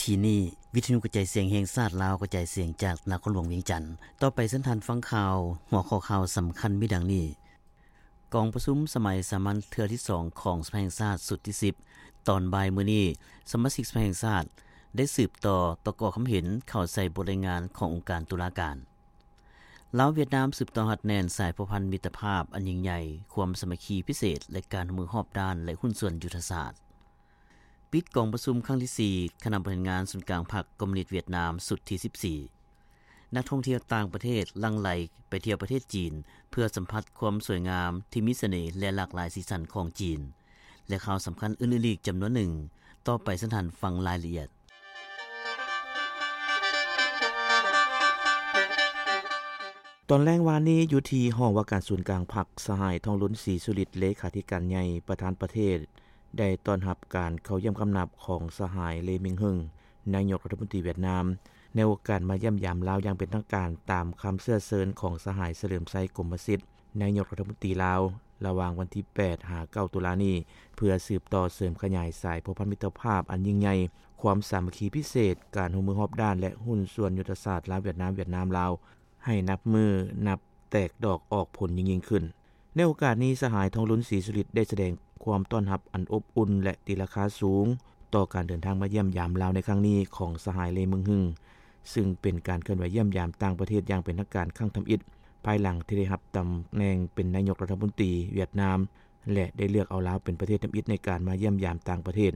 ກີ້ນີ້, ວິທະຍຸກະຈາຍສຽງແຫ່ງຊາດລາວ ກະຈາຍສຽງຈາກນະຄອນຫຼວງວຽງຈັນ. ຕໍ່ໄປເຊີນທ່ານຟັງຂ່າວ, ຫົວຂໍ້ຂ່າວສຳຄັນມີດັ່ງນີ້: ກອງປະຊຸມສະໄໝສາມັນເທື່ອທີສອງຂອງສະພາແຫ່ງຊາດຊຸດທີສິບ ຕອນບ່າຍມື້ນີ້, ສະມາຊິກສະພາແຫ່ງຊາດໄດ້ສືບຕໍ່ປະກອບຄຳເຫັນເຂົ້າໃສ່ບົດລາຍງານຂອງອົງການຕຸລາການ. ລາວ-ຫວຽດນາມສືບຕໍ່ຮັດແໜ້ນສາຍພົວພັນມິດຕະພາບອັນຍິ່ງໃຫຍ່, ຄວາມສາມັກຄີພິເສດ ແລະ ການຮ່ວມມືຮອບດ້ານ ແລະ ຫຸ້ນສ່ວນຍຸດທະສາດ. ປິດກອງປະຊຸມຄັ້ງທີສີ່ ຄະນະບໍລິຫານງານສູນກາງພັກຄອມມູນິດຫວຽດນາມ ຊຸດທີສິບສີ່. ນັກທ່ອງທ່ຽວຕ່າງປະເທດຫຼັ່ງໄຫຼໄປທ່ຽວປະເທດຈີນ ເພື່ອສຳຜັດຄວາມສວຍງາມທີ່ມີສະເໜ່ ແລະ ຫຼາກຫຼາຍສີສັນຂອງຈີນ ແລະ ຂ່າວສຳຄັນອື່ນໆອີກຈຳນວນໜຶ່ງ. ຕໍ່ໄປເຊີນທ່ານຟັງລາຍລະອຽດ. ຕອນແລງວານນີ້, ຢູ່ທີ່ຫ້ອງວ່າການສູນກາງພັກ, ສະຫາຍ ທອງລຸນ ສີສຸລິດ ເລຂາທິການໃຫຍ່ ປະທານປະເທດ ໄດ້ຕ້ອນຮັບການເຂົ້າຢ້ຽມຄຳນັບຂອງສະຫາຍ ເລ ມິງເຮິງ ນາຍົກລັດຖະມົນຕີຫວຽດນາມ, ໃນໂອກາດມາຢ້ຽມຢາມລາວຢ່າງເປັນທາງການ ຕາມຄຳເຊື້ອເຊີນຂອງສະຫາຍ ສະເຫຼີມໄຊ ກົມມະສິດ ນາຍົກລັດຖະມົນຕີລາວ ລະຫວ່າງວັນທີແປດ ຫາ ເກົ້າ ຕຸລານີ້, ເພື່ອສືບຕໍ່ເສີມຂະຫຍາຍສາຍພົວພັນມິດຕະພາບອັນຍິ່ງໃຫຍ່, ຄວາມສາມັກຄີພິເສດ, ການຮ່ວມມືຮອບດ້ານ ແລະ ຫຸ້ນສ່ວນຍຸດທະສາດລາວ-ຫວຽດນາມ, ຫວຽດນາມ-ລາວ ໃຫ້ນັບມື້ນັບແຕກດອກອອກຜົນຍິ່ງໆຂຶ້ນ. ໃນໂອກາດນີ້, ສະຫາຍ ທອງລຸນ ສີສຸລິດ ໄດ້ສະແດງຄວາມຕ້ອນຮັບອັນອົບອຸ່ນ ແລະ ຕີລາຄາສູງ ຕໍ່ການເດີນທາງມາຢ້ຽມຢາມລາວໃນຄັ້ງນີ້ຂອງສະຫາຍ ເລ ມິງເຮິງ, ຊຶ່ງເປັນການເຄື່ອນໄຫວຢ້ຽມຢາມຕ່າງປະເທດຢ່າງເປັນທາງການຄັ້ງທຳອິດ, ພາຍຫຼັງທີ່ໄດ້ຮັບຕຳແໜ່ງເປັນນາຍົກລັດຖະມົນຕີຫວຽດນາມ ແລະ ໄດ້ເລືອກເອົາລາວເປັນປະເທດທຳອິດໃນການມາຢ້ຽມຢາມຕ່າງປະເທດ.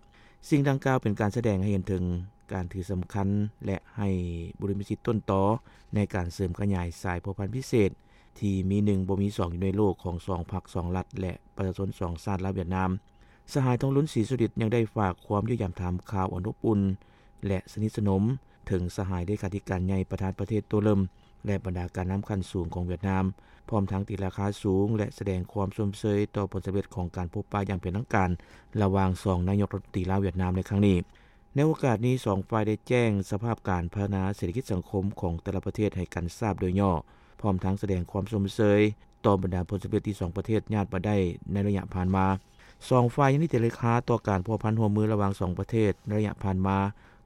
ສິ່ງດັ່ງກ່າວເປັນການສະແດງໃຫ້ເຫັນເຖິງການຖືສຳຄັນ ແລະ ໃຫ້ບຸລິມະສິດຕົ້ນຕໍໃນການເສີມຂະຫຍາຍສາຍພົວພັນພິເສດ ທີ່ມີໜຶ່ງບໍ່ມີສອງຢູ່ໃນໂລກຂອງສອງພັກສອງລັດ ແລະ ປະຊາຊົນສອງຊາດລາວ-ຫວຽດນາມ. ສະຫາຍ ທອງລຸນ ສີສຸລິດ ຍັງໄດ້ຝາກຄວາມຢ້ຽມຢາມຖາມຂ່າວອັນອົບອຸ່ນ ແລະ ສະໜິດສະໜົມ ເຖິງສະຫາຍເລຂາທິການໃຫຍ່ປະທານປະເທດໂຕເລີ່ມ ແລະ ບັນດາການນຳຂັ້ນສູງຂອງຫວຽດນາມ, ພ້ອມທັງຕີລາຄາສູງ ແລະ ສະແດງຄວາມຊົມເຊີຍຕໍ່ຜົນສຳເລັດຂອງການພົບປະຢ່າງເປັນທາງການ ລະຫວ່າງສອງນາຍົກລັດຖະມົນຕີລາວ-ຫວຽດນາມໃນຄັ້ງນີ້. ໃນໂອກາດນີ້, ສອງຝ່າຍໄດ້ແຈ້ງສະພາບການພັດທະນາເສດຖະກິດສັງຄົມຂອງແຕ່ລະປະເທດໃຫ້ກັນຊາບໂດຍຫຍໍ້, ພ້ອມທັງສະແດງຄວາມຊົມເຊີຍຕໍ່ບັນດາຜົນສຳເລັດທີ່ສອງປະເທດຍາດມາໄດ້ໃນໄລຍະຜ່ານມາ. ສອງຝ່າຍຍັງໄດ້ຕີລາຄາຕໍ່ການພົວພັນຮ່ວມມືລະຫວ່າງສອງປະເທດໃນໄລຍະຜ່ານມາ,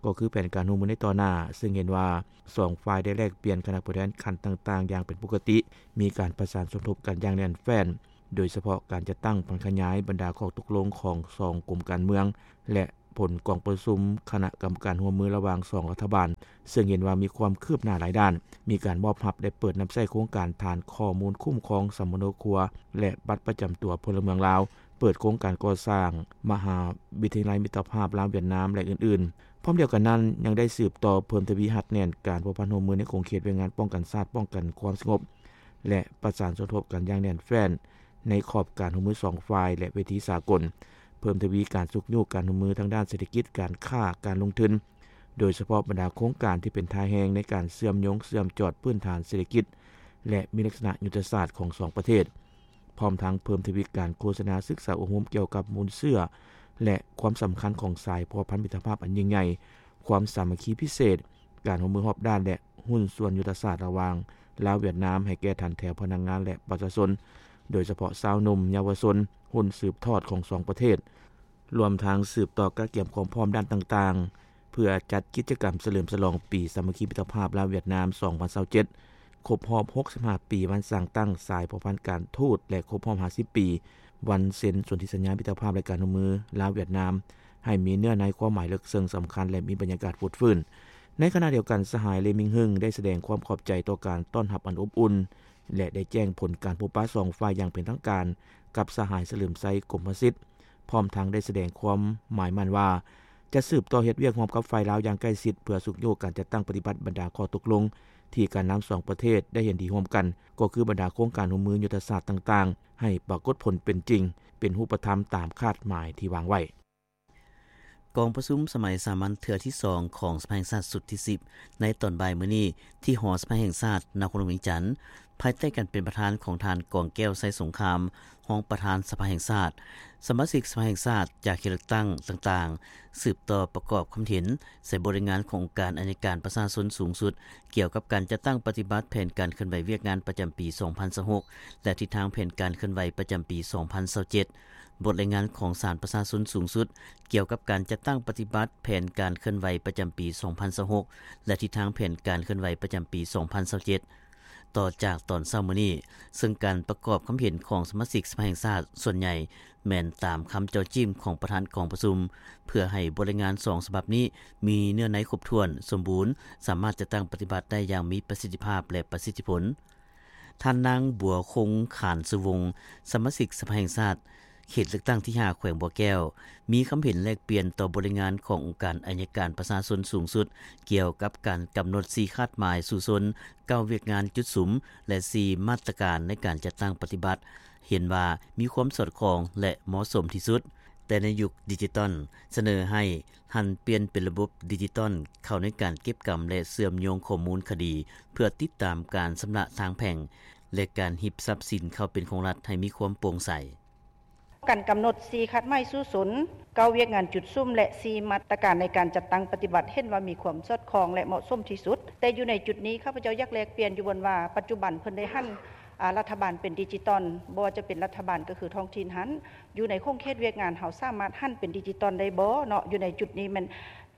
ກໍຄືແຜນການຮ່ວມມືໃນຕໍ່ໜ້າ, ເຊິ່ງເຫັນວ່າສອງຝ່າຍໄດ້ແລກປ່ຽນຄະນະຜູ້ແທນຂັ້ນຕ່າງໆຢ່າງເປັນປົກກະຕິ, ມີການປະສານສົມທົບກັນຢ່າງແໜ້ນແຟ້ນ, ໂດຍສະເພາະການຈັດຕັ້ງຜັນຂະຫຍາຍບັນດາຂໍ້ຕົກລົງຂອງສອງກົມການເມືອງ ແລະ ຜົນກອງປະຊຸມຄະນະກຳມະການຮ່ວມມືລະຫວ່າງສອງລັດຖະບານ, ເຊິ່ງເຫັນວ່າມີຄວາມຄືບໜ້າຫຼາຍດ້ານ, ມີການມອບຮັບ ແລະ ເປີດນຳໃຊ້ໂຄງການຖານຂໍ້ມູນຄຸ້ມຄອງສຳມະໂນຄົວ ແລະ ບັດປະຈຳຕົວພົນລະເມືອງລາວ, ເປີດໂຄງການກໍ່ສ້າງມະຫາວິທະຍາໄລມິດຕະພາບລາວ-ຫວຽດນາມ ແລະ ອື່ນໆ. ພ້ອມດຽວກັນນັ້ນ, ຍັງໄດ້ສືບຕໍ່ເພີ່ມທະວີຮັດແໜ້ນການພົວພັນຮ່ວມມືໃນຂົງເຂດວຽກງານປ້ອງກັນຊາດ, ປ້ອງກັນຄວາມສະຫງົບ ແລະ ປະສານສົມທົບກັນຢ່າງແໜ້ນແຟ້ນ ໃນຂອບການຮ່ວມມືສອງຝ່າຍ ແລະ ເວທີສາກົນ, ເພີ່ມທະວີການຊຸກຍູ້ການຮ່ວມມືທາງດ້ານເສດຖະກິດ, ການຄ້າ, ການລົງທຶນ, ໂດຍສະເພາະບັນດາໂຄງການທີ່ເປັນທ່າແຮງໃນການເຊື່ອມໂຍງເຊື່ອມຈອດພື້ນຖານເສດຖະກິດ ແລະ ມີລັກສະນະຍຸດທະສາດຂອງສອງປະເທດ, ພ້ອມທັງເພີ່ມທະວີການໂຄສະນາສຶກສາອົບຮົມກ່ຽວກັບມູນເຊື້ອ ແລະ ຄວາມສຳຄັນຂອງສາຍພົວພັນມິດຕະພາບອັນຍິ່ງໃຫຍ່, ຄວາມສາມັກຄີພິເສດ, ການຮ່ວມມືຮອບດ້ານ ແລະ ຫຸ້ນສ່ວນຍຸດທະສາດລະຫວ່າງລາວ-ຫວຽດນາມໃຫ້ແກ່ຖັນແຖວພະນັກງານ ແລະ ປະຊາຊົນ, ໂດຍສະເພາະຊາວໜຸ່ມ, ເຍົາວະຊົນ, ຮຸ່ນສືບທອດຂອງສອງປະເທດ, ລວມທັງສືບຕໍ່ກະກຽມຄວາມພ້ອມດ້ານຕ່າງໆ ເພື່ອຈັດກິດຈະກຳສະເຫຼີມສະຫຼອງປີສາມັກຄີມິດຕະພາບລາວ-ຫວຽດນາມ ສອງພັນຊາວເຈັດ ຄົບຮອບຫົກສິບຫ້າປີວັນສ້າງຕັ້ງສາຍພົວພັນການທູດ ແລະ ຄົບຮອບຫ້າສິບປີວັນເຊັນສົນທິສັນຍາມິດຕະພາບ ແລະ ການຮ່ວມມືລາວ-ຫວຽດນາມ ໃຫ້ມີເນື້ອໃນຄວາມໝາຍເລິກເຊິ່ງສຳຄັນ ແລະ ມີບັນຍາກາດຟົດຟື້ນ. ໃນຂະນະດຽວກັນ, ສະຫາຍ ເລ ມິງເຮິງ ໄດ້ສະແດງຄວາມຂອບໃຈຕໍ່ການຕ້ອນຮັບອັນອົບອຸ່ນ ແລະ ໄດ້ແຈ້ງຜົນການພົບປະສອງຝ່າຍຢ່າງເປັນທາງການກັບສະຫາຍ ສະເຫຼີມໄຊ ກົມມະສິດ, ພ້ອມທັງໄດ້ສະແດງຄວາມໝາຍໝັ້ນວ່າ ຈະສືບຕໍ່ເຮັດວຽກຮ່ວມກັບຝ່າຍລາວຢ່າງໃກ້ຊິດ ເພື່ອຊຸກຍູ້ການຈັດຕັ້ງປະຕິບັດບັນດາຂໍ້ຕົກລົງທີ່ການນຳສອງປະເທດໄດ້ເຫັນດີຮ່ວມກັນ, ກໍຄືບັນດາໂຄງການຮ່ວມມືຍຸດທະສາດຕ່າງໆ ໃຫ້ປາກົດຜົນເປັນຈິງ, ເປັນຮູບປະທຳຕາມຄາດໝາຍທີ່ວາງໄວ້. ກອງປະຊຸມສະໄໝສາມັນເທື່ອທີສອງຂອງສະພາແຫ່ງຊາດຊຸດທີສິບ ໃນຕອນບ່າຍມື້ນີ້ ທີ່ຫໍສະພາແຫ່ງຊາດ ນະຄອນຫຼວງວຽງຈັນ, ພາຍໃຕ້ການເປັນປະທານຂອງທ່ານ ກອງແກ້ວ ໄຊສົງຄາມ ຮອງປະທານສະພາແຫ່ງຊາດ, ສະມາຊິກສະພາແຫ່ງຊາດຈາກເຂດເລືອກຕັ້ງຕ່າງໆ ສືບຕໍ່ປະກອບຄຳເຫັນໃສ່ບົດລາຍງານຂອງອົງການໄອຍະການປະຊາຊົນສູງສຸດ ກ່ຽວກັບການຈັດຕັ້ງປະຕິບັດແຜນການເຄື່ອນໄຫວວຽກງານປະຈຳປີສອງພັນຊາວຫົກ ແລະ ທິດທາງແຜນການເຄື່ອນໄຫວປະຈຳປີສອງພັນຊາວເຈັດ. ບົດລາຍງານຂອງສານປະຊາຊົນສູງສຸດ ກ່ຽວກັບການຈັດຕັ້ງປະຕິບັດແຜນການເຄື່ອນໄຫວປະຈຳປີສອງພັນຊາວຫົກ ແລະ ທິດທາງແຜນການເຄື່ອນໄຫວປະຈຳປີສອງພັນຊາວເຈັດ. ຕໍ່ຈາກຕອນເຊົ້າມື້ນີ້, ເຊິ່ງການປະກອບຄຳເຫັນຂອງສະມາຊິກສະພາແຫ່ງຊາດສ່ວນໃຫຍ່ແມ່ນຕາມຄຳເຈາະຈີ້ມຂອງປະທານກອງປະຊຸມ, ເພື່ອໃຫ້ບົດລາຍງານສອງສະບັບນີ້ມີເນື້ອໃນຄົບຖ້ວນ, ສົມບູນ, ສາມາດຈັດຕັ້ງປະຕິບັດໄດ້ຢ່າງມີປະສິດທິພາບ ແລະ ປະສິດທິຜົນ. ທ່ານນາງ ບົວຄົງ ຂານສຸວົງ ສະມາຊິກສະພາແຫ່ງຊາດ ເຂດເລືອກຕັ້ງທີຫ້າ ແຂວງບໍ່ແກ້ວ ມີຄຳເຫັນແລກປ່ຽນຕໍ່ບົດລາຍງານຂອງອົງການໄອຍະການປະຊາຊົນສູງສຸດ ກ່ຽວກັບການກຳນົດສີ່ຄາດໝາຍສູ້ຊົນ, ເກົ້າວຽກງານຈຸດສຸມ ແລະ ສີ່ມາດຕະການໃນການຈັດຕັ້ງປະຕິບັດ ເຫັນວ່າມີຄວາມສອດຄ່ອງ ແລະ ເໝາະສົມທີ່ສຸດ. ແຕ່ໃນຍຸກດິຈິຕອນ ສະເໜີໃຫ້ຫັນປ່ຽນເປັນລະບົບດິຈິຕອນເຂົ້າໃນການເກັບກຳ ແລະ ເຊື່ອມໂຍງຂໍ້ມູນຄະດີ ເພື່ອຕິດຕາມການຊຳລະທາງແພ່ງ ແລະ ການຮິບຊັບສິນເຂົ້າເປັນຂອງລັດໃຫ້ມີຄວາມໂປ່ງໃສ. ການກຳນົດສີ່ຄາດໝາຍສູ້ຊົນ, ເກົ້າວຽກງານຈຸດສຸມ ແລະ ສີ່ມາດຕະການໃນການຈັດຕັ້ງປະຕິບັດ ເຫັນວ່າມີຄວາມສອດຄ່ອງ ແລະ ເໝາະສົມທີ່ສຸດ. ແຕ່ຢູ່ໃນຈຸດນີ້ ຂ້າພະເຈົ້າຢາກແລກປ່ຽນຢູ່ບ່ອນວ່າ ປັດຈຸບັນເພິ່ນໄດ້ຫັນ ອາ ລັດຖະບານເປັນດິຈິຕອນ, ບໍ່ວ່າຈະເປັນລັດຖະບານກໍຄືທ້ອງຖິ່ນຫັ້ນ, ຢູ່ໃນຂົງເຂດວຽກງານເຮົາສາມາດຫັນເປັນດິຈິຕອນໄດ້ບໍ່ເນາະ? ຢູ່ໃນຈຸດນີ້ແມ່ນ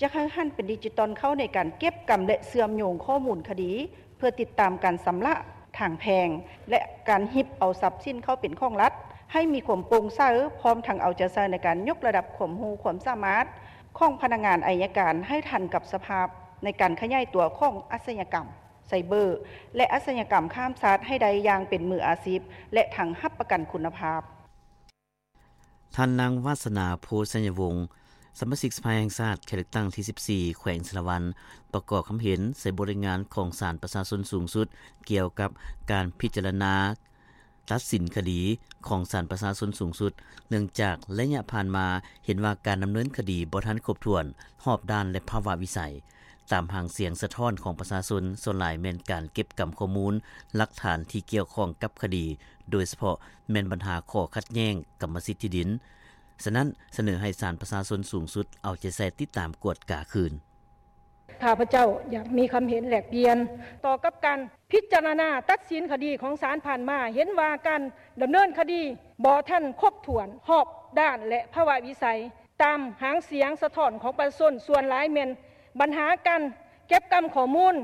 ຢາກໃຫ້ຫັນເປັນດິຈິຕອນເຂົ້າໃນການເກັບກຳ ແລະ ເຊື່ອມໂຍງຂໍ້ມູນຄະດີ ເພື່ອຕິດຕາມການຊຳລະທາງແພ່ງ ແລະ ການຮິບເອົາຊັບສິນເຂົ້າເປັນຂອງລັດ ໃຫ້ມີຄວາມໂປ່ງໃສ, ພ້ອມທັງເອົາໃຈໃສ່ໃນການຍົກລະດັບຄວາມຮູ້ຄວາມສາມາດຂອງພະນັກງານໄອຍະການໃຫ້ທັນກັບສະພາບໃນການຂະຫຍາຍຕົວຂອງອາຊະຍາກຳໄຊເບີ ແລະ ອາຊະຍາກຳຂ້າມຊາດໃຫ້ໄດ້ຢ່າງເປັນມືອາຊີບ ແລະ ທັງຮັບປະກັນຄຸນນະພາບ. ທ່ານນາງ ວາສະໜາ ໂພໄຊຍະວົງ ສະມາຊິກສະພາແຫ່ງຊາດ ເຂດເລືອກຕັ້ງທີສິບສີ່ ແຂວງສາລະວັນ ປະກອບຄຳເຫັນໃສ່ບົດລາຍງານຂອງສານປະຊາຊົນສູງສຸດ ກ່ຽວກັບການພິຈາລະນາຕັດສິນຄະດີຂອງສານປະຊາຊົນສູງສຸດ ເນື່ອງຈາກໄລຍະຜ່ານມາເຫັນວ່າການດຳເນີນຄະດີບໍ່ທັນຄົບຖ້ວນ, ຮອບດ້ານ ແລະ ພາວະວິໄສ. ຕາມຫາງສຽງສະທ້ອນຂອງປະຊາຊົນ ສ່ວນຫຼາຍແມ່ນການເກັບກຳຂໍ້ມູນຫຼັກຖານທີ່ກ່ຽວຂ້ອງກັບຄະດີ, ໂດຍສະເພາະແມ່ນບັນຫາຂໍ້ຂັດແຍ່ງກຳມະສິດທີ່ດິນ. ສະນັ້ນ, ສະເໜີໃຫ້ສານປະຊາຊົນສູງສຸດເອົາໃຈໃສ່ຕິດຕາມກວດກາຄືນ. ຂ້າພະເຈົ້າຢາກມີຄຳເຫັນແລກປ່ຽນຕໍ່ກັບການພິຈາລະນາຕັດສິນຄະດີຂອງສານຜ່ານມາ, ເຫັນວ່າການດຳເນີນຄະດີບໍ່ທັນຄົບຖ້ວນ, ຮອບດ້ານ ແລະ ພາວະວິໄສ. ຕາມຫາງສຽງສະທ້ອນຂອງປະຊາຊົນສ່ວນຫຼາຍແມ່ນບັນຫາການເກັບກຳຂໍ້ມູນ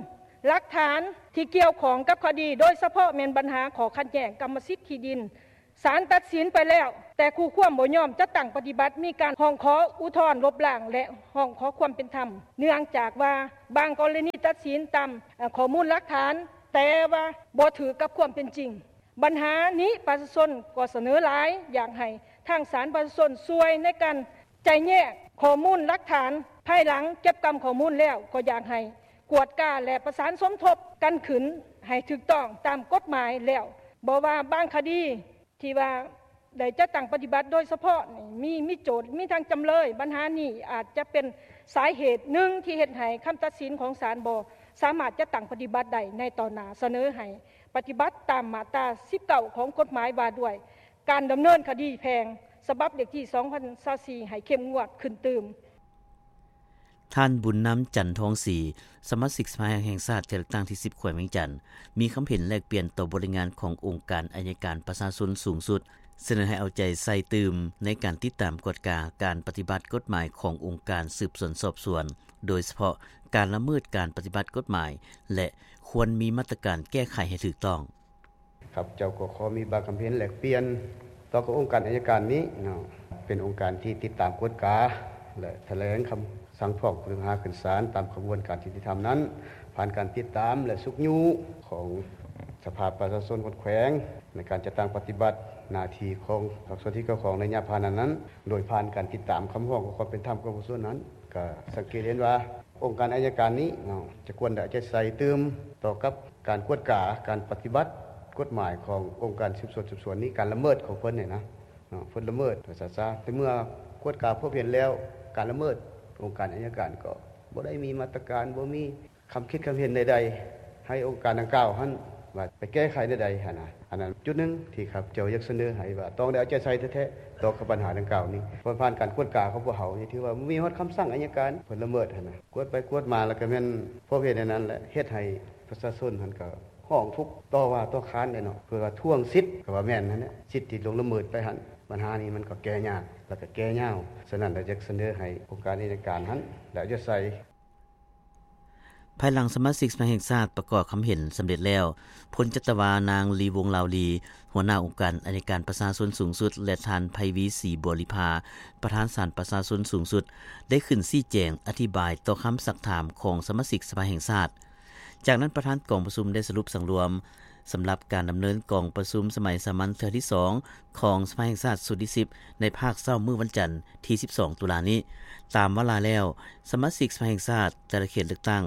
ຫຼັກຖານທີ່ກ່ຽວຂ້ອງກັບຄະດີ, ໂດຍສະເພາະແມ່ນບັນຫາຂໍ້ຂັດແຍ່ງກຳມະສິດທີ່ດິນ. ສານຕັດສິນໄປແລ້ວ, ແຕ່ຄູ່ຄວາມບໍ່ຍອມຈັດຕັ້ງປະຕິບັດ, ມີການຮ້ອງຂໍອຸທອນລົບລ້າງ ແລະ ຮ້ອງຂໍຄວາມເປັນທຳ, ເນື່ອງຈາກວ່າບາງກໍລະນີຕັດສິນຕາມ ເອີ ຂໍ້ມູນຫຼັກຖານ, ແຕ່ວ່າບໍ່ຖືກກັບຄວາມເປັນຈິງ. ບັນຫານີ້ປະຊາຊົນກໍສະເໜີຫຼາຍ, ຢາກໃຫ້ທາງສານປະຊາຊົນຊ່ວຍໃນການແຈກແຍກຂໍ້ມູນຫຼັກຖານ, ພາຍຫຼັງເກັບກຳຂໍ້ມູນແລ້ວ ກໍຢາກໃຫ້ກວດກາ ແລະ ປະສານສົມທົບກັນຂຶ້ນໃຫ້ຖືກຕ້ອງຕາມກົດໝາຍແລ້ວ. ບໍ່ວ່າບາງຄະດີທີ່ວ່າໄດ້ຈັດຕັ້ງປະຕິບັດໂດຍສະເພາະນີ້ ມີ ມີໂຈດ ມີທັງຈຳເລີຍ. ບັນຫານີ້ອາດຈະເປັນສາເຫດໜຶ່ງທີ່ເຮັດໃຫ້ຄຳຕັດສິນຂອງສານບໍ່ສາມາດຈັດຕັ້ງປະຕິບັດໄດ້ໃນຕໍ່ໜ້າ. ສະເໜີໃຫ້ ປະຕິບັດຕາມມາດຕາສິບເກົ້າຂອງກົດໝາຍວ່າດ້ວຍການດຳເນີນຄະດີແພ່ງ ສະບັບເລກທີສອງພັນຊາວສີ່ ໃຫ້ເຂັ້ມງວດຂຶ້ນຕື່ມ. ທ່ານ ບຸນນຳ ຈັນທອງສີ ສະມາຊິກສະພາແຫ່ງຊາດເຂດເລືອກຕັ້ງທີສິບ ແຂວງວຽງຈັນ ມີຄຳເຫັນແລກປ່ຽນຕໍ່ບົດລາຍງານຂອງອົງການໄອຍະການປະຊາຊົນສູງສຸດ ສະເໜີໃຫ້ເອົາໃຈໃສ່ຕື່ມໃນການຕິດຕາມກວດກາການປະຕິບັດກົດໝາຍຂອງອົງການສືບສວນສອບສວນ, ໂດຍສະເພາະການລະເມີດການປະຕິບັດກົດໝາຍ ແລະ ຄວນມີມາດຕະການແກ້ໄຂໃຫ້ຖືກຕ້ອງ. ຂ້າພະເຈົ້າກໍຂໍມີບາງຄຳເຫັນແລກປ່ຽນຕໍ່ກັບອົງການໄອຍະການນີ້ເນາະ, ເປັນອົງການທີ່ຕິດຕາມກວດກາ ແລະ ຖະແຫຼງຄຳສັ່ງຟ້ອງຜູ້ຕ້ອງຫາຂຶ້ນສານຕາມຂະບວນການຍຸຕິທຳນັ້ນ ຜ່ານການຕິດຕາມ ແລະ ຊຸກຍູ້ຂອງສະພາປະຊາຊົນຮອດແຂວງ ໃນການຈັດຕັ້ງປະຕິບັດໜ້າທີ່ຂອງພາກສ່ວນທີ່ກ່ຽວຂ້ອງໃນໄລຍະຜ່ານມານັ້ນ, ໂດຍຜ່ານການຕິດຕາມຄຳຮ້ອງຂໍຄວາມເປັນທຳຂອງປະຊາຊົນນັ້ນ, ກໍສັງເກດເຫັນວ່າອົງການໄອຍະການນີ້ເນາະ ຈະຄວນໄດ້ເອົາໃຈໃສ່ຕື່ມຕໍ່ກັບການກວດກາການປະຕິບັດກົດໝາຍຂອງອົງການສືບສວນສອບສວນນີ້, ການລະເມີດຂອງເພິ່ນນີ້ນະເນາະ, ເພິ່ນລະເມີດ ວ່າຊັ້ນຊະ. ແຕ່ເມື່ອກວດກາພົບເຫັນແລ້ວການລະເມີດ, ອົງການໄອຍະການກໍບໍ່ໄດ້ມີມາດຕະການ, ບໍ່ມີ ຄຳຄິດຄຳເຫັນໃດໆ ໃຫ້ອົງການດັ່ງກ່າວຫັ້ນວ່າໄປແກ້ໄຂແນວໃດຫັ້ນນະ. ອັນນັ້ນຈຸດໜຶ່ງທີ່ຂ້າພະເຈົ້າຢາກສະເໜີໃຫ້ວ່າຕ້ອງໄດ້ເອົາໃຈໃສ່ແທ້ໆຕໍ່ກັບບັນຫາດັ່ງກ່າວນີ້, ເພາະຜ່ານການກວດກາຂອງພວກເຮົານີ້ ຖືວ່າມີຮອດຄຳສັ່ງໄອຍະການເພິ່ນລະເມີດຫັ້ນນະ, ກວດໄປກວດມາແລ້ວກໍແມ່ນພົບເຫັນອັນນັ້ນແຫຼະ ເຮັດໃຫ້ປະຊາຊົນຫັ້ນກໍຮ້ອງທຸກຕໍ່ວ່າຕໍ່ຄ້ານໄດ້ເນາະ, ເພື່ອວ່າທວງສິດ ກໍວ່າແມ່ນຫັ້ນແຫຼະ, ສິດທີ່ລ່ວງລະເມີດໄປຫັ້ນ. ບັນຫານີ້ມັນກໍແກ້ຍາກ ແລະກໍແກ້ຍາວ. ສະນັ້ນ ລະຢາກສະເໜີໃຫ້ອົງການນິຕິການຫັ້ນ ລະຢາກໃສ່ ພາຍຫຼັງສະມາຊິກສະພາແຫ່ງຊາດປະກອບຄຳເຫັນສຳເລັດແລ້ວ, ພົນຈັດຕະວາ ນາງ ລີວົງ ລາວລີ, ຫົວໜ້າອົງການອັຍການປະຊາຊົນສູງສຸດ ແລະ ທ່ານ ໄພວີ ສີບົວລິພາ, ປະທານສານປະຊາຊົນສູງສຸດ, ໄດ້ຂຶ້ນຊີ້ແຈງອະທິບາຍຕໍ່ຄຳຊັກຖາມຂອງສະມາຊິກສະພາແຫ່ງຊາດ. ຈາກນັ້ນ ປະທານກອງປະຊຸມໄດ້ສະຫຼຸບສັງລວມ ສຳລັບການດຳເນີນກອງປະຊຸມສະໄໝສາມັນເທື່ອທີສອງ ຂອງສະພາແຫ່ງຊາດຊຸດທີສິບ ໃນພາກເຊົ້າມື້ວັນຈັນທີສິບສອງຕຸລານີ້. ຕາມວາລະແລ້ວ, ສະມາຊິກສະພາແຫ່ງຊາດແຕ່ລະເຂດເລືອກຕັ້ງ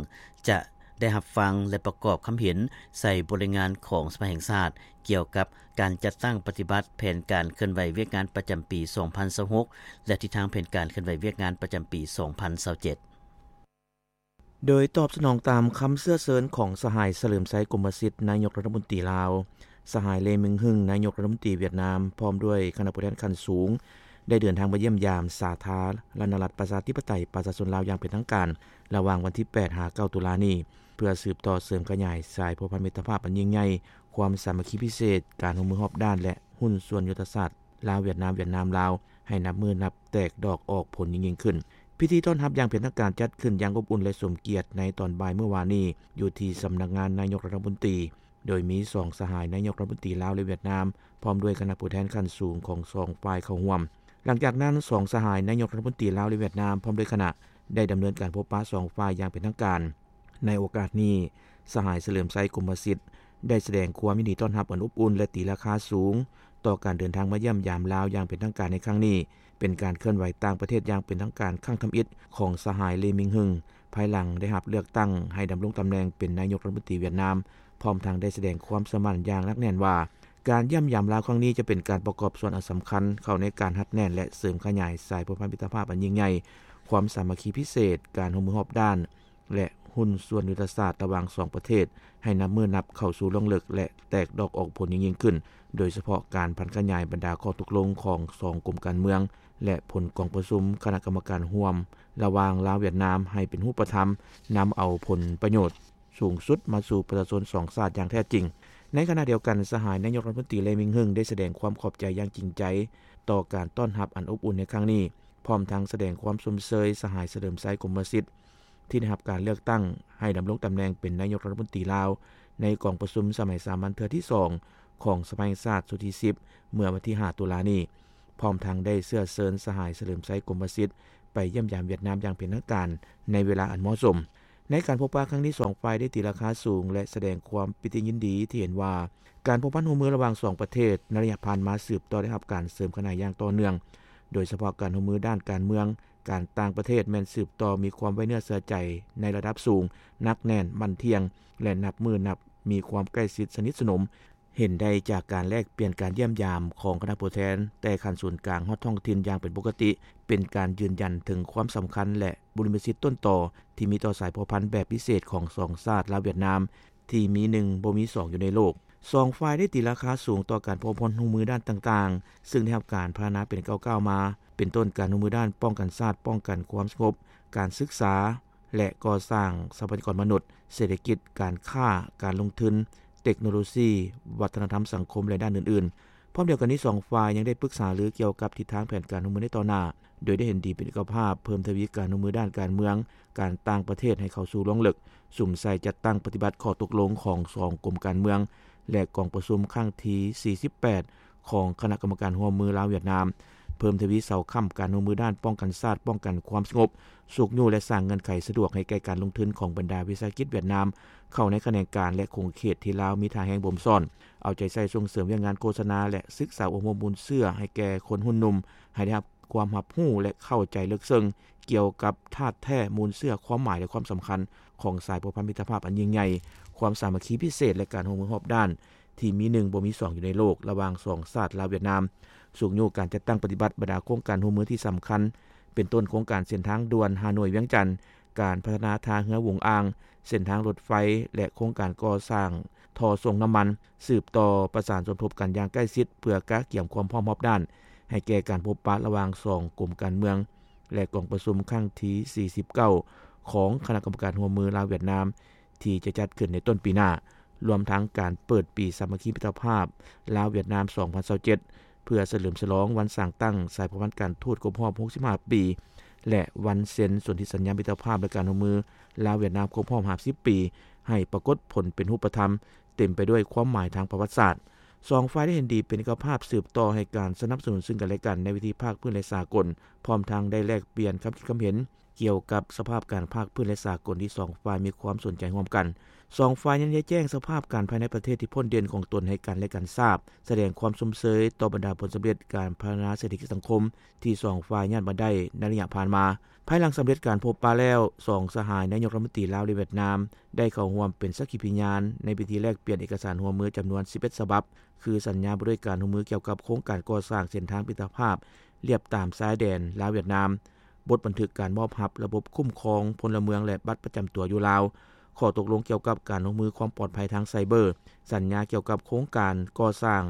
ຈະໄດ້ຮັບຟັງ ແລະ ປະກອບຄຳເຫັນໃສ່ບົດລາຍງານຂອງສະພາແຫ່ງຊາດ ກ່ຽວກັບການຈັດຕັ້ງປະຕິບັດແຜນການເຄື່ອນໄຫວວຽກງານປະຈຳປີສອງພັນຊາວຫົກ ແລະ ທິດທາງແຜນການເຄື່ອນໄຫວວຽກງານປະຈຳປີສອງພັນຊາວເຈັດ. ໂດຍຕອບສະໜອງຕາມຄຳເຊື້ອເຊີນຂອງສະຫາຍ ສະເຫຼີມໄຊ ກົມມະສິດ ນາຍົກລັດຖະມົນຕີລາວ, ສະຫາຍ ເລ ມິງຮຶງ ນາຍົກລັດຖະມົນຕີຫວຽດນາມ ພ້ອມດ້ວຍຄະນະຜູ້ແທນຂັ້ນສູງ ໄດ້ເດີນທາງມາຢ້ຽມຢາມສາທາລະນະລັດ ປະຊາທິປະໄຕ ປະຊາຊົນລາວຢ່າງເປັນທາງການ ລະຫວ່າງວັນທີແປດ ຫາ ເກົ້າ ຕຸລານີ້ ເພື່ອສືບຕໍ່ເສີມຂະຫຍາຍສາຍພົວພັນມິດຕະພາບອັນຍິ່ງໃຫຍ່, ຄວາມສາມັກຄີພິເສດ, ການຮ່ວມມືຮອບດ້ານ ແລະ ຫຸ້ນສ່ວນຍຸດທະສາດ ລາວ-ຫວຽດນາມ, ຫວຽດນາມ-ລາວ ໃຫ້ນັບມື້ນັບແຕກດອກອອກຜົນຍິ່ງໆຂຶ້ນ. ພິທີຕ້ອນຮັບຢ່າງເປັນທາງການຈັດຂຶ້ນຢ່າງອົບອຸ່ນ ແລະ ສົມກຽດໃນຕອນບ່າຍມື້ວານນີ້ ຢູ່ທີ່ສຳນັກງານນາຍົກລັດຖະມົນຕີ, ໂດຍມີສອງສະຫາຍນາຍົກລັດຖະມົນຕີລາວ ແລະ ຫວຽດນາມ ພ້ອມດ້ວຍຄະນະຜູ້ແທນຂັ້ນສູງຂອງສອງຝ່າຍເຂົ້າຮ່ວມ. ຫຼັງຈາກນັ້ນ ສອງສະຫາຍນາຍົກລັດຖະມົນຕີລາວ ແລະ ຫວຽດນາມ ພ້ອມດ້ວຍຄະນະ ໄດ້ດຳເນີນການພົບປະສອງຝ່າຍຢ່າງເປັນທາງການ. ໃນໂອກາດນີ້ ສະຫາຍ ສະເຫຼີມໄຊ ກົມມະສິດ ໄດ້ສະແດງຄວາມຍິນດີຕ້ອນຮັບອັນອົບອຸ່ນ ແລະ ຕີລາຄາສູງ ຕໍ່ການເດີນທາງມາຢ້ຽມຢາມລາວຢ່າງເປັນທາງການໃນຄັ້ງນີ້, ເປັນການເຄື່ອນໄຫວຕ່າງປະເທດຢ່າງເປັນທາງການຄັ້ງທຳອິດຂອງສະຫາຍ ເລ ມິງຮຶງ ພາຍຫຼັງໄດ້ຮັບເລືອກຕັ້ງໃຫ້ດຳລົງຕຳແໜ່ງເປັນນາຍົກລັດຖະມົນຕີຫວຽດນາມ, ພ້ອມທັງໄດ້ສະແດງຄວາມເຊື່ອໝັ້ນຢ່າງໜັກແໜ້ນວ່າ ການຢ້ຽມຢາມລາວຄັ້ງນີ້ຈະເປັນການປະກອບສ່ວນອັນສຳຄັນເຂົ້າໃນການຮັດແໜ້ນ ແລະ ເສີມຂະຫຍາຍສາຍພົວພັນມິດຕະພາບອັນຍິ່ງໃຫຍ່, ຄວາມສາມັກຄີພິເສດ, ການຮ່ວມມືຮອບດ້ານ ແລະ ຫຸ້ນສ່ວນຍຸດທະສາດລະຫວ່າງສອງປະເທດ ໃຫ້ນັບມື້ນັບເຂົ້າສູ່ລວງເລິກ ແລະ ແຕກດອກອອກຜົນຍິ່ງໆຂຶ້ນ, ໂດຍສະເພາະການຜັນຂະຫຍາຍບັນດາຂໍ້ຕົກລົງຂອງສອງກົມການເມືອງ ແລະ ຜົນກອງປະຊຸມຄະນະກຳມະການຮ່ວມລະຫວ່າງລາວຫວຽດນາມໃຫ້ເປັນຮູບປະທຳ, ນຳເອົາຜົນປະໂຫຍດສູງສຸດມາສູ່ປະຊາຊົນສອງຊາດຢ່າງແທ້ຈິງ. ໃນຂະນະດຽວກັນ, ສະຫາຍນາຍົກລັດຖະມົນຕີ ເລ ມິງຮຶງ ໄດ້ສະແດງຄວາມຂອບໃຈຢ່າງຈິງໃຈຕໍ່ການຕ້ອນຮັບອັນອົບອຸ່ນໃນຄັ້ງນີ້, ພ້ອມທັງສະແດງຄວາມຊົມເຊີຍສະຫາຍ ສະເຫຼີມໄຊ ກົມມະສິດ ທີ່ໄດ້ຮັບການເລືອກຕັ້ງໃຫ້ດຳລົງຕຳແໜ່ງເປັນນາຍົກລັດຖະມົນຕີລາວ ໃນກອງປະຊຸມສະໄໝສາມັນເທື່ອທີສອງຂອງສະພາແຫ່ງຊາດຊຸດທີສິບ ເມື່ອວັນທີຫ້າ ຕຸລານີ້, ພ້ອມທັງໄດ້ເຊື້ອເຊີນສະຫາຍ ສະເຫຼີມໄຊ ກົມມະສິດ ໄປຢ້ຽມຢາມຫວຽດນາມຢ່າງເປັນທາງການໃນເວລາອັນເໝາະສົມ. ໃນການພົບປະຄັ້ງນີ້ ສອງຝ່າຍໄດ້ຕີລາຄາສູງ ແລະ ສະແດງຄວາມປີຕິຍິນດີທີ່ເຫັນວ່າ ການພົວພັນຮ່ວມມືລະຫວ່າງສອງປະເທດໃນໄລຍະຜ່ານມາ ສືບຕໍ່ໄດ້ຮັບການເສີມຂະຫຍາຍຢ່າງຕໍ່ເນື່ອງ, ໂດຍສະເພາະການຮ່ວມມືດ້ານການເມືອງ, ການຕ່າງປະເທດແມ່ນສືບຕໍ່ມີຄວາມໄວ້ເນື້ອເຊື່ອໃຈໃນລະດັບສູງ, ໜັກແໜ້ນ, ໝັ້ນທ່ຽງ ແລະ ນັບມື້ນັບມີຄວາມໃກ້ຊິດສະໜິດສະໜົມ. ເຫັນໄດ້ຈາກການແລກປ່ຽນການຢ້ຽມຢາມຂອງຄະນະຜູ້ແທນແຕ່ຂັ້ນສູນກາງຮອດທ້ອງຖິ່ນຢ່າງເປັນປົກກະຕິ, ເປັນການຢືນຢັນເຖິງຄວາມສຳຄັນ ແລະ ບຸລິມະສິດຕົ້ນຕໍທີ່ມີຕໍ່ສາຍພົວພັນແບບພິເສດຂອງສອງຊາດລາວຫວຽດນາມ ທີ່ມີໜຶ່ງບໍ່ມີສອງຢູ່ໃນໂລກ. ສອງຝ່າຍໄດ້ຕີລາຄາສູງຕໍ່ການພົວພັນຮ່ວມມືດ້ານຕ່າງໆ, ຊຶ່ງໄດ້ຮັບການພັດທະນາເປັນກ້າວໆມາ, ເປັນຕົ້ນການຮ່ວມມືດ້ານປ້ອງກັນຊາດ, ປ້ອງກັນຄວາມສະຫງົບ, ການສຶກສາ ແລະ ກໍ່ສ້າງຊັບພະຍາກອນມະນຸດ, ເສດຖະກິດ, ການຄ້າ, ການລົງທຶນ, ເຕັກໂນໂລຊີ, ວັດທະນະທຳສັງຄົມ ແລະ ດ້ານອື່ນໆ. ພ້ອມດຽວກັນນີ້, ສອງຝ່າຍຍັງໄດ້ປຶກສາລືກ່ຽວກັບທິດທາງແຜນການຮ່ວມມືໃນຕໍ່ໜ້າ, ໂດຍໄດ້ເຫັນດີເປັນເອກະພາບເພີ່ມທະວີການຮ່ວມມືດ້ານການເມືອງ, ການຕ່າງປະເທດໃຫ້ເຂົ້າສູ່ລວງເລິກ, ສຸມໃສ່ຈັດຕັ້ງປະຕິບັດຂໍ້ຕົກລົງຂອງສອງກົມການເມືອງ ແລະ ກອງປະຊຸມຄັ້ງທີສີ່ສິບແປດ ຂອງຄະນະກຳມະການຮ່ວມມືລາວຫວຽດນາມ, ເພີ່ມທະວີເສົາຄ້ຳການຮ່ວມມືດ້ານປ້ອງກັນຊາດ, ປ້ອງກັນຄວາມສະຫງົບ, ຊຸກຍູ້ ແລະ ສ້າງເງື່ອນໄຂສະດວກໃຫ້ແກ່ການລົງທຶນຂອງບັນດາວິສາຫະກິດຫວຽດນາມເຂົ້າໃນຂະແໜງການ ແລະ ຂົງເຂດທີ່ລາວມີທ່າແຮງບົ່ມຊ້ອນ, ເອົາໃຈໃສ່ສົ່ງເສີມວຽກງານໂຄສະນາ ແລະ ສຶກສາອົບຮົມມູນເຊື້ອໃຫ້ແກ່ຄົນຮຸ່ນໜຸ່ມ ໃຫ້ໄດ້ຮັບຄວາມຮັບຮູ້ ແລະ ເຂົ້າໃຈເລິກເຊິ່ງກ່ຽວກັບທາດແທ້ມູນເຊື້ອ, ຄວາມໝາຍ ແລະ ຄວາມສຳຄັນຂອງສາຍພົວພັນມິດຕະພາບອັນຍິ່ງໃຫຍ່, ຄວາມສາມັກຄີພິເສດ ແລະ ການຮ່ວມມືຮອບດ້ານ ທີ່ມີໜຶ່ງບໍ່ມີສອງຢູ່ໃນໂລກ ລະຫວ່າງສອງຊາດລາວຫວຽດນາມ, ຊຸກຍູ້ການຈັດຕັ້ງປະຕິບັດບັນດາໂຄງການຮ່ວມມືທີ່ສຳຄັນ, ເປັນຕົ້ນໂຄງການເສັ້ນທາງດ່ວນຮ່າໂນ້ຍ-ວຽງຈັນ, ການພັດທະນາທ່າເຮືອຫວຸງອ່າງ, ເສັ້ນທາງລົດໄຟ ແລະ ໂຄງການກໍ່ສ້າງທໍ່ສົ່ງນ້ຳມັນ, ສືບຕໍ່ປະສານສົມທົບກັນຢ່າງໃກ້ຊິດ ເພື່ອກະກຽມຄວາມພ້ອມຮອບດ້ານ ໃຫ້ແກ່ການພົບປະລະຫວ່າງສອງກົມການເມືອງ ແລະ ກອງປະຊຸມຄັ້ງທີສີ່ສິບເກົ້າ ຂອງຄະນະກຳມະການຮ່ວມມືລາວຫວຽດນາມ ທີ່ຈະຈັດຂຶ້ນໃນຕົ້ນປີໜ້າ, ລວມທັງການເປີດປີສາມັກຄີມິດຕະພາບລາວຫວຽດນາມສອງພັນຊາວເຈັດ ເພື່ອສະເຫຼີມສະຫຼອງວັນສ້າງຕັ້ງສາຍພົວພັນການທູດຄົບຮອບຫົກສິບຫ້າປີ ແລະ ວັນເຊັນສົນທິສັນຍາມິດຕະພາບ ແລະ ການຮ່ວມມືລາວ-ຫວຽດນາມຄົບຮອບຫ້າສິບປີ ໃຫ້ປາກົດຜົນເປັນຮູບປະທຳ, ເຕັມໄປດ້ວຍຄວາມໝາຍທາງປະຫວັດສາດ. ສອງຝ່າຍໄດ້ເຫັນດີເປັນເອກະພາບສືບຕໍ່ໃຫ້ການສະໜັບສະໜູນຊຶ່ງກັນແລະກັນໃນເວທີພາກພື້ນ ແລະ ສາກົນ, ພ້ອມທັງໄດ້ແລກປ່ຽນຄຳຄິດຄຳເຫັນ ກ່ຽວກັບສະພາບການພາກພື້ນ ແລະ ສາກົນທີ່ສອງຝ່າຍມີຄວາມສົນໃຈຮ່ວມກັນ. ສອງຝ່າຍຍັງໄດ້ແຈ້ງສະພາບການພາຍໃນປະເທດທີ່ພົ້ນເດັ່ນຂອງຕົນໃຫ້ກັນ ແລະ ກັນຊາບ, ສະແດງຄວາມຊົມເຊີຍຕໍ່ບັນດາຜົນສຳເລັດການພັດທະນາເສດຖະກິດສັງຄົມທີ່ສອງຝ່າຍຍາດມາໄດ້ໃນໄລຍະຜ່ານມາ. ພາຍຫຼັງສຳເລັດການພົບປະແລ້ວ, ສອງສະຫາຍນາຍົກລັດຖະມົນຕີລາວ ແລະ ຫວຽດນາມ ໄດ້ເຂົ້າຮ່ວມເປັນສັກຂີພິຍານໃນພິທີແລກປ່ຽນເອກະສານຮ່ວມມືຈຳນວນສິບເອັດສະບັບ, ຄືສັນຍາວ່າດ້ວຍການຮ່ວມມືກ່ຽວກັບໂຄງການກໍ່ສ້າງເສັ້ນທາງມິດຕະພາບລຽບຕາມຊາຍແດນລາວ-ຫວຽດນາມ, ບົດບັນທຶກການມອບຮັບລະບົບຄຸ້ມຄອງພົນລະເມືອງ ແລະ ບັດປະຈຳຕົວຢູ່ລາວ, ຂໍ້ຕົກລົງກ່ຽວກັບການຮ່ວມມືຄວາມປອດໄພທາງໄຊເບີ, ສັນຍາກ່ຽວກັບໂຄງການກໍ່ສ້າງ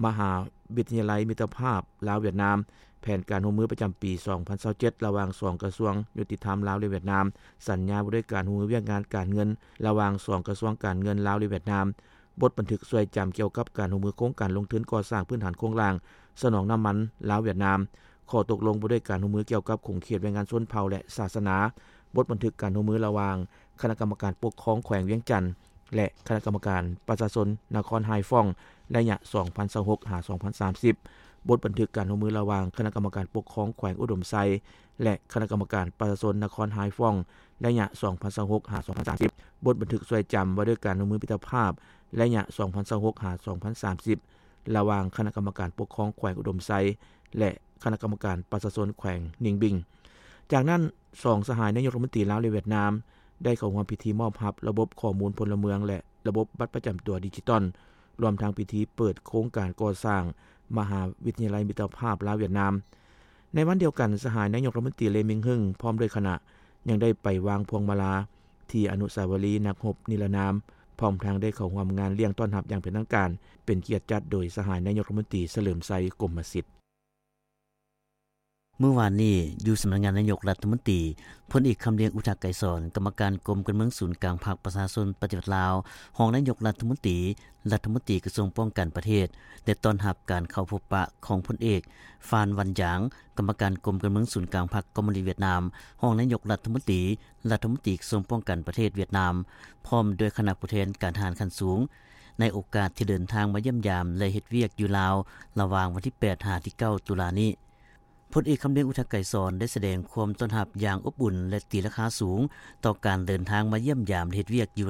ມະຫາວິທະຍາໄລມິດຕະພາບລາວ-ຫວຽດນາມ, ແຜນການຮ່ວມມືປະຈຳປີສອງພັນຊາວເຈັດ ລະຫວ່າງສອງກະຊວງຍຸຕິທຳລາວ ແລະ ຫວຽດນາມ, ສັນຍາວ່າດ້ວຍການຮ່ວມມືວຽກງານການເງິນລະຫວ່າງສອງກະຊວງການເງິນລາວ ແລະ ຫວຽດນາມ, ບົດບັນທຶກຊ່ວຍຈຳກ່ຽວກັບການຮ່ວມມືໂຄງການລົງທຶນກໍ່ສ້າງພື້ນຖານໂຄງລ່າງສະໜອງນ້ຳມັນລາວ-ຫວຽດນາມ, ຂໍ້ຕົກລົງວ່າດ້ວຍການຮ່ວມມືກ່ຽວກັບຂົງເຂດແຮງງານຊົນເຜົ່າ ແລະ ສາສະໜາ, ບົດບັນທຶກການຮ່ວມມືລະຫວ່າງຄະນະກຳມະການປົກຄອງແຂວງວຽງຈັນ ແລະ ຄະນະກຳມະການປະຊາຊົນນະຄອນຮາຍຟອງ ໄລຍະສອງພັນຊາວຫົກຫາສອງພັນສາມສິບ, ບົດບັນທຶກການຮ່ວມມືລະຫວ່າງຄະນະກຳມະການປົກຄອງແຂວງອຸດົມໄຊ ແລະ ຄະນະກຳມະການປະຊາຊົນນະຄອນຮາຍຟອງ ໄລຍະສອງພັນຊາວຫົກຫາສອງພັນສາມສິບ, ບົດບັນທຶກຊ່ວຍຈຳວ່າດ້ວຍການຮ່ວມມືມິດຕະພາບ ໄລຍະສອງພັນຊາວຫົກຫາສອງພັນສາມສິບ ລະຫວ່າງຄະນະກຳມະການປົກຄອງແຂວງອຸດົມໄຊ ແລະ ຄະນະກຳມະການປະຊາຊົນແຂວງນິງບິງ. ຈາກນັ້ນ, ສອງສະຫາຍນາຍົກລັດຖະມົນຕີລາວ ແລະ ຫວຽດນາມ ໄດ້ເຂົ້າຮ່ວມພິທີມອບຮັບລະບົບຂໍ້ມູນພົນລະເມືອງ ແລະ ລະບົບບັດປະຈຳຕົວດິຈິຕອນ, ລວມທັງພິທີເປີດໂຄງການກໍ່ສ້າງມະຫາວິທະຍາໄລມິດຕະພາບລາວ-ຫວຽດນາມ. ໃນວັນດຽວກັນ, ສະຫາຍນາຍົກລັດຖະມົນຕີ ເລ ມິງຮຶງ ພ້ອມດ້ວຍຄະນະ ຍັງໄດ້ໄປວາງພວງມາລາທີ່ອະນຸສາວະລີນັກຮົບນິລະນາມ, ພ້ອມທັງໄດ້ເຂົ້າຮ່ວມງານລ້ຽງຕ້ອນຮັບຢ່າງເປັນທາງການ, ເປັນກຽດຈັດໂດຍສະຫາຍນາຍົກລັດຖະມົນຕີ ສະເຫຼີມໄຊ ກົມມະສິດ. ມື້ວານນີ້, ຢູ່ສຳນັກງານນາຍົກລັດຖະມົນຕີ, ພົນເອກ ຄຳລຽງ ອຸທະໄກສອນ ກຳມະການກົມການເມືອງສູນກາງພັກປະຊາຊົນປະຕິວັດລາວ, ຮອງນາຍົກລັດຖະມົນຕີ, ລັດຖະມົນຕີກະຊວງປ້ອງກັນປະເທດ ໄດ້ຕ້ອນຮັບການເຂົ້າພົບປະຂອງພົນເອກ ຟານ ວັນຢາງ ກຳມະການກົມການເມືອງສູນກາງພັກຄອມມູນິດຫວຽດນາມ, ຮອງນາຍົກລັດຖະມົນຕີ, ລັດຖະມົນຕີກະຊວງປ້ອງກັນປະເທດຫວຽດນາມ, ພ້ອມດ້ວຍຄະນະຜູ້ແທນການທະຫານຂັ້ນສູງ ໃນໂອກາດທີ່ເດີນທາງມາຢ້ຽມຢາມ ແລະ ເຮັດວຽກຢູ່ລາວ ລະຫວ່າງວັນທີແປດຫາທີເກົ້າຕຸລານີ້. ພົນເອກ ຄຳລຽງ ອຸທະໄກສອນ ໄດ້ສະແດງຄວາມຕ້ອນຮັບຢ່າງອົບອຸ່ນ ແລະ ຕີລາຄາສູງຕໍ່ການເດີນທາງມາຢ້ຽມຢາມ ແລະ ເຮັດວຽກຢູ່